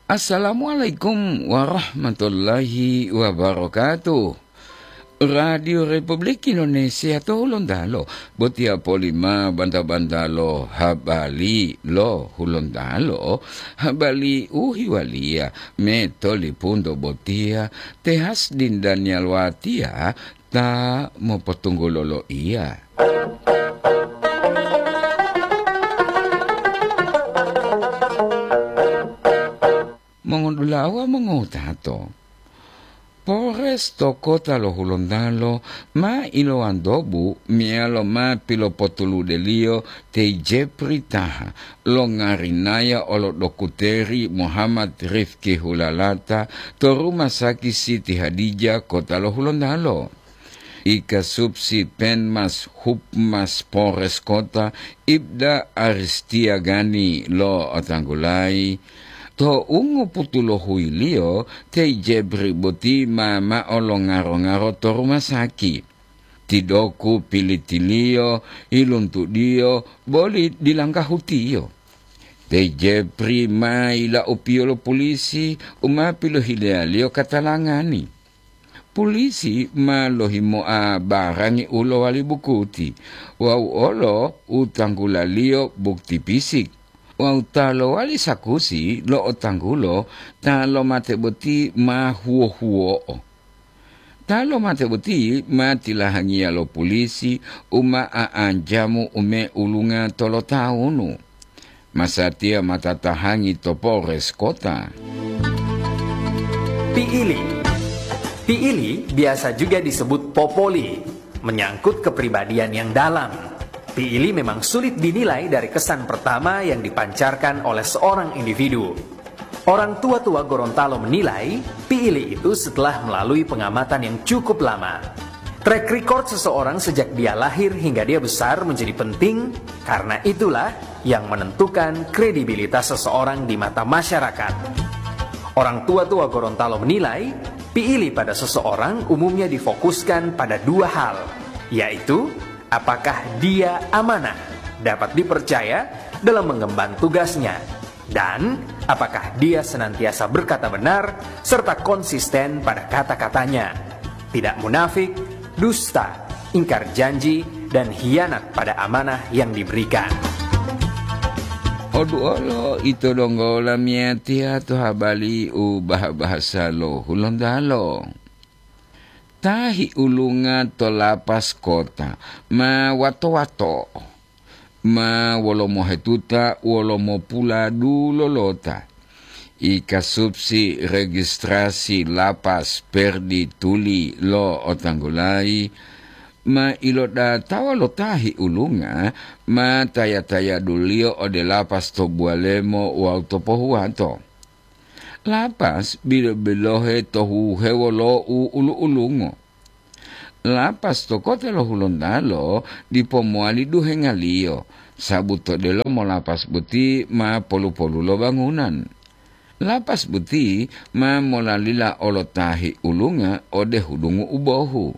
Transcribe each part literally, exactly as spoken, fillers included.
Assalamualaikum warahmatullahi wabarakatuh. Radio Republik Indonesia to Hulontalo, botiya polima banta-bantalo habali lo Hulontalo, habali u hiwaliya metolipunto botiya, tehas dindaniya lowatiya ta mopotunggulo loiya. Mongodulawa mongowutato, Polres to kota lo Hulontalo ma ilowantobu meyalo ma pilopotuludeliyo te Jepri Taha longarinaya olo dokuteri Muhammad Rifki Hulalata to Rumah Sakit Siti Hadijah kota lo Hulontalo. Ikasubsi Penmas Hupmas Polres Kota, Ibda Aristia Gani lo otanggulayi, to ungoputulohuiliyo te Jebri boti ma mao lo ngaro-ngaro to rumah saki. Tidoku pilitiliyo, iluntudiyo, boli dilanggahutiyo. Te Jebri ma yilaupiyo lo pulisi u ma pilohileyaliyo katalangani. Pulisi ma lohimoa barangi u lowali bukuti wawu olo u tanggulaliyo bukti pisik, wawu ta lowali sakusi lo otanggulo ta lomate boti ma huwo-huwo'o. Ta lomate boti ma tilahangiya lo pulisi u ma a'anjamu ume ulunga tolotawunu. Masatiya ma tatahangi to Polres Kota. Piili. Piili biasa juga disebut popoli, menyangkut kepribadian yang dalam. Piili memang sulit dinilai dari kesan pertama yang dipancarkan oleh seorang individu. Orang tua-tua Gorontalo menilai, piili itu setelah melalui pengamatan yang cukup lama. Track record seseorang sejak dia lahir hingga dia besar menjadi penting, karena itulah yang menentukan kredibilitas seseorang di mata masyarakat. Orang tua-tua Gorontalo menilai, piili pada seseorang umumnya difokuskan pada dua hal, yaitu apakah dia amanah, dapat dipercaya dalam mengemban tugasnya, dan apakah dia senantiasa berkata benar serta konsisten pada kata-katanya, tidak munafik, dusta, ingkar janji, dan hianat pada amanah yang diberikan. Oduolo ito donggo lamiyatiya to habari u bah-bahasa lo Hulontalo. Ta hiulunga to lapas kota ma wato-wato, ma wolo mohetuta wolo mopula dulolota. Ikasubsi registrasi lapas perdi tuli lo otanggulayi, ma ilodatawa lo ta hiulunga ma taya-tayaduliyo ode lapas to Buwalemo wawu to Pohuwato. Lapas bilo-bilohe to huhewo lo u ulu-ulungo. Lapas to kota lo Hulontalo dipo mowali duhengaliyo, sabu to delomo lapas boti ma polu-polu lo bangunan. Lapas boti ma molalila olo ta hiulunga ode hudungu u bohu,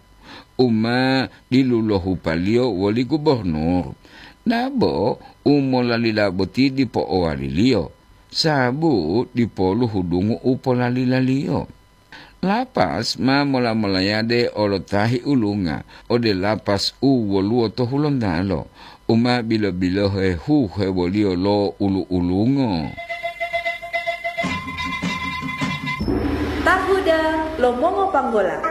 u ma dilulohupaliyo woli gubornur. Dabo u molalila boti dipo owaliliyo, sabu dipolu hudungu u polalilaliyo. Lapas ma mola-molayade olo ta hiulunga ode lapas u woluwo to Hulontalo, u ma bilo-bilohe huhewoliyo lo ulu-ulungo. Tahuda lo mongopanggola.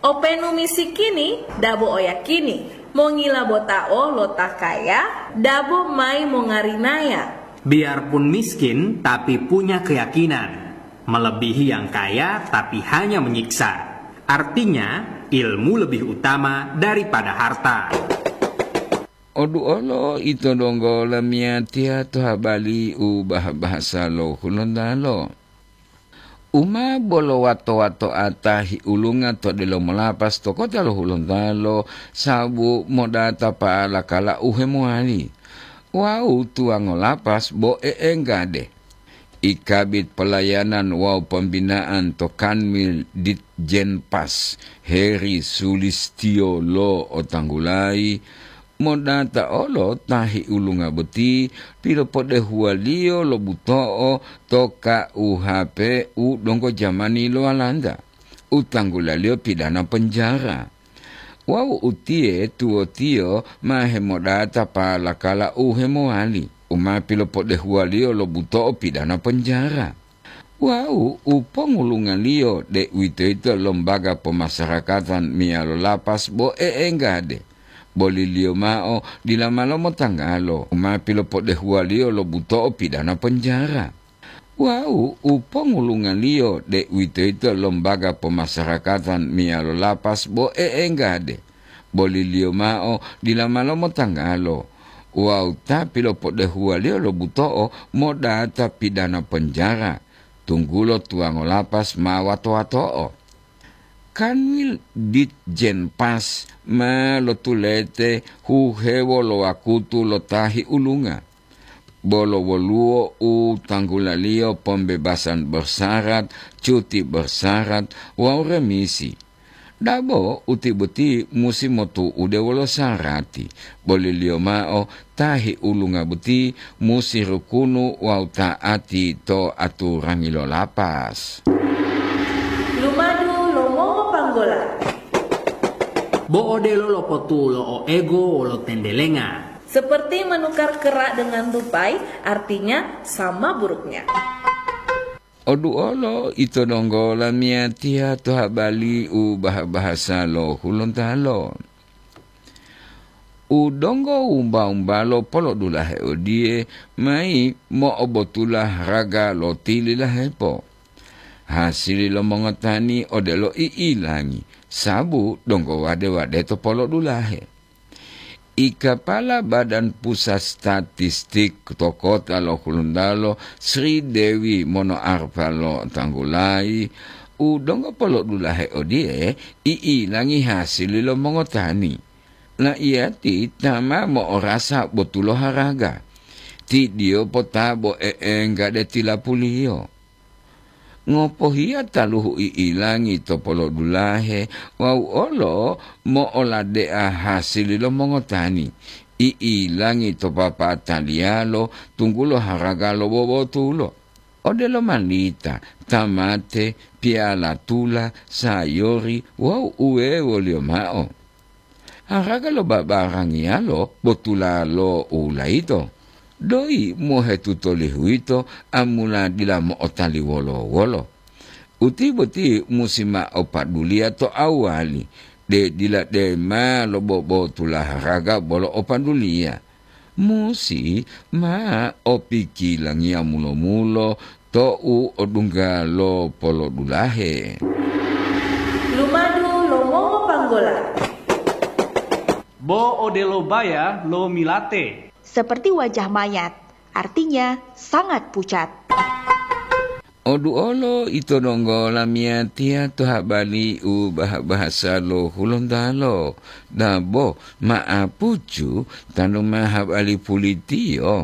Openu misikini dabo oyakini, mongila botao lo ta kaya dabo mayi mongarinaya. Biarpun miskin, tapi punya keyakinan. Melebihi yang kaya, tapi hanya menyiksa. Artinya, ilmu lebih utama daripada harta. Oduolo ito donggo lamiyatiya to habari u bah-bahasa lo Hulontalo. U ma bolo wato-watoa ta hiulunga to delomo lapas to kota lo Hulontalo, sabu modata pa'ala kala u hemowali. Wawu tuwango lapas bo e'enggade. I Kabid Pelayanan wawu Pembinaan to Kanwil Ditjenpas, Heri Sulistio lo otanggulayi, Modata olo ta hiulunga boti pilopodehuwaliyo lo buto'o to K U H P u donggo jamani lo Walanda, u tanggulaliyo pidana penjara. Wawu utiye tuwotiyo ma hemodata palakala u hemowali, u ma pilopodehuwaliyo lo buto'o pidana penjara. Wawu u pongulungaliyo, deuwitoyito lombaga pomasarakatan meyalo lapas bo e'enggade, boliliyo mao dila ma lomotanggalo, u ma pilopodehuwaliyo lo buto'o pidana penjara. Wawu u pongulungaliyo, deuwitoyito lombaga pomasarakatan meyalo lapas bo e'enggade, boliliyo mao dila ma lomotanggalo, wawu ta pilopodehuwaliyo lo buto'o modata pidana penjara, tunggulo tuwango lapas ma wato-wato'o. Kanwil Ditjenpas ma lotulete huhewo lo wakutu lo ta hiulunga. Bolo woluwo u tanggulaliyo pembebasan bersyarat, cuti bersyarat, wawu remisi. Dabo uti boti musi motu'ude wolo sarati, boliliyo mao ta hiulunga boti musi rukunu wawu ta'ati to aturangi lo lapas. Lumadu lo mongopanggola. Bo odelo lopotulo o ego wolo tendelenga. Seperti menukar kerak dengan tupai, artinya sama buruknya. Oduolo ito donggo lamiyatiya to habali u baha-bahasa lo Hulontalo. U donggo wumba-wumbalo polodulahe odiye, mayi mo'obotula haraga lo tililahepo. Hasili lo mongotani odelo i'ilangi, sabu donggo wade-wade to polodulahe. I kapala Badan Pusat Statistik to kota lo Hulontalo, Sri Dewi Monoarfa lotanggulayi, u donggo polodulahe odiye i'ilangi hasili lo mongotani. La'iyati ta ma mo'orasa botulo haraga. Ti diyopo ta bo e'enggade tilapuliyo. Ngopohiya taluhu i'ilangi to polodulahe wawu olo mo'oladea hasili lo mongotani, i'ilangi to papataliyalo tunggulo haraga lo bobotulo. Odelo malita, tamate, piyala tula, sayori wawu uwewoliyo mao. Haraga lo babarangiyalo botula lo ulayito, doyi mohetuto lihuwito amula dila mo'otali wolo-wolo. Uti boti musi mao paduliya to awali, de dila dema lo bobotula haraga bolo o paduliya. Musi ma opikilangiya mulo-mulo tou odungga lo polodulahe. Lumadu lo mongopanggola. Bo odelo baya lo milate. Seperti wajah mayat, artinya sangat pucat. Oduolo ito donggo lamiyatiya to habali u baha-bahasa lo Hulontalo, dabo ma'apucu tanu ma habali pulitiyo.